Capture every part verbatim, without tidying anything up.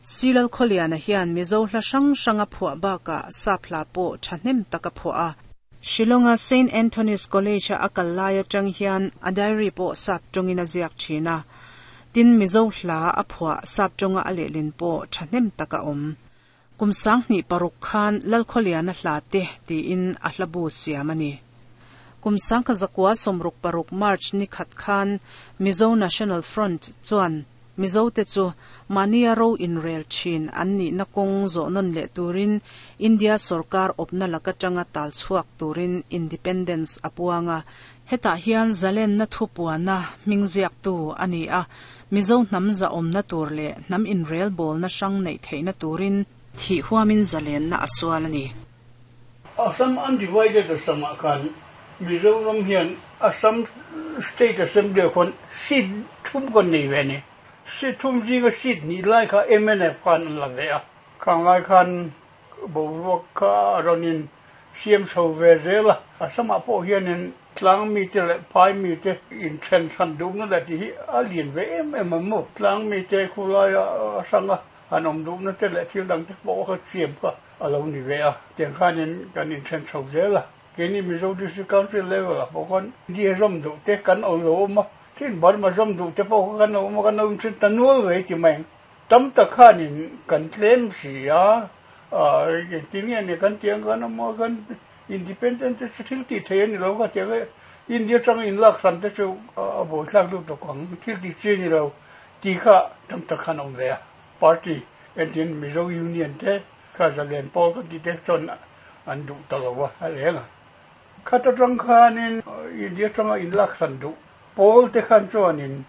C Lalkhawliana hian Mizo hla hrang hrang a phuah bakah sap hla pawh thahnem tak a phuah a. Shillonga Saint Anthony's College a akal lai atang hian a diary pawh sap tawngin a ziak thin a. Tin Mizo hla a phuah sap tawnga a lehlin pawh thahnem tak a awm. Kum sanghnih paruk khan Lalkhawliana hla te tiin a hlabu siam a ni. Kum sangkha zakua sawmruk paruk March ni khat khan Mizo National Front chuan Mizo te chu mania ro inrel thin an ni na kawng zawh nawn leh turin India sorkar awpna laka tanga tal chhuak turin Independence a puanga. Hetah hian zalen na thu puana hming ziak tu a ni a. Mizo hnam za awmna tur leh hnam inrel bawl na hrang neih theihna turin thi huamin zalen na a sual a ni. Assam undivided Assam ah khan Mizoram hian Assam State Assembly ah khuan seat thum kan nei ve ni. Seat thum zinga seat hnih lai kha M N F khan an la ve a. Khang lai khan boruak kha a rawnin siam chho ve zel a. Assam ah pawh hianin tlang mi te leh phai mi te in then hran duhna leh tih hi a lian ve em em ang maw. Tlang mi te khulai a hranga an awm duhna te leh thil dang te pawh kha siam kha a lo ni ve a. Tiang khanin kan in then chho zel a. Keini Mizo District Council level ah pawh khan India zawm duh te kan awm lo awm a. Tin Burma zawm duh te pawh kha kan awm a, kan awm thin ta nual ve ti mai ang. Tam tak khanin kan tlem si a, engtin nge ni kan tiang kan awm a, kan independent te chu thil tih thei a ni lo kha tiang e. India tang in lak hran te chu a buaithlak lutuk ang, thil tih chi ni lo ti kha tam tak khan awm ve a. Party entin Mizo Union te kha zalen pawl kan ti te chuan an duh ta lo a a reng a. Khata tang khanin India tanga in lak hran duh pawl te khan chuanin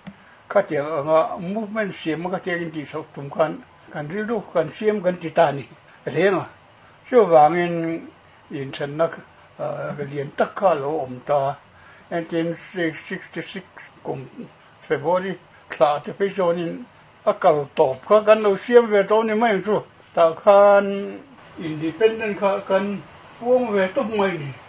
khatiang anga movement siam a khatiang in tih chhoh tum khan kan rilru kan siam kan ti ta ni reng a. Chuvangin inthenna lian tak kha lo awm ta. nineteen sixty-six kum February thla te phei chuanin a kal tawp kha kan lo siam ve tawh ni mai ang chu. Tah khan independent kha kan puang ve tawp mai ni.